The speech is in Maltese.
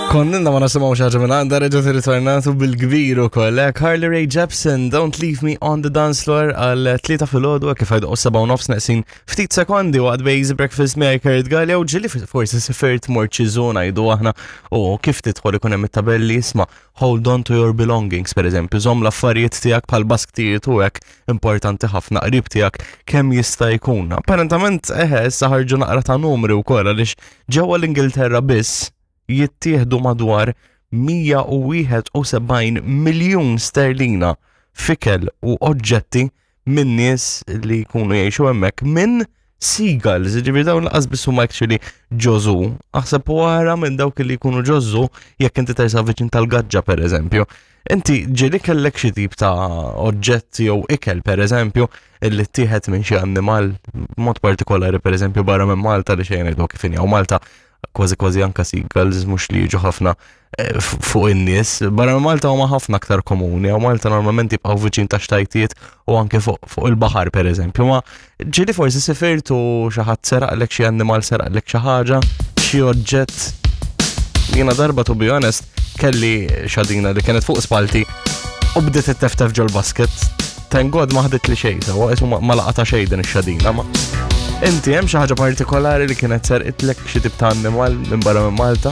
Konnilna ma nasimgħu xi ħaġa minn għandha reġgħet irritornatu bil-kbir ukoll. Eh, Carly Rae Jepsen, Don't Leave Me on the Dance Floor għal tlieta filgħodu kif għajdu seba' u nofs neqsin ftit sekondi waqt Bejz Breakfast miegħi Kurt Gallia u ġili forsi sifirt mort xi żona jgħidu aħna u kif tidħol ikun hemm it-tabelli isma' hold on to your belongings per eżempju, żomm l-affarijiet tiegħek bħal basktijiet u hekk importanti ħafna qrib tiegħek kemm jista' jkun. Apparentament eħe issa ħarġu naqra ta' numri wkoll għaliex ġewwa l-Ingilterra biss jittieħdu madwar 171 miljun sterlina f'ikel u oġġetti minn nies li jkunu jgħixu hemmhekk minn seagulls, ġifieri dawn laqas biss huma actually ġożu. Aħseb u ara minn dawk li jkunu ġożu jekk inti tersa viċin tal-gaġġa pereżempju. Inti ġieli kellek xi tip ta' oġġett jew ikel pereżempju illi ttieħed minn xi annimal b'mod partikolari pereżempju barra minn Malta li xejn ngħidu kif inhi Malta kważi kważi anka seagulls mhux li jiġu ħafna eh, fuq in-nies. Barra minn Malta huma ħafna aktar komuni, u Malta normalment jibqgħu viċin ta' xtajtiet u anke fuq fuq il-baħar pereżempju. Ma ġieli forsi sifirtu xi ħadd seraqlek xi annimal seraqlek xi ħaġa, xi oġġett. Jiena darba to be honest kelli xadina li kienet fuq spalti u bdiet it-teftef ġol-basket. Thank God ma ħadet li xejn, sewa isu ma laqata xejn din ix-xadina ma. Inti hemm xi ħaġa partikolari li kienet serqitlek xi tip ta' annimal minn barra minn Malta?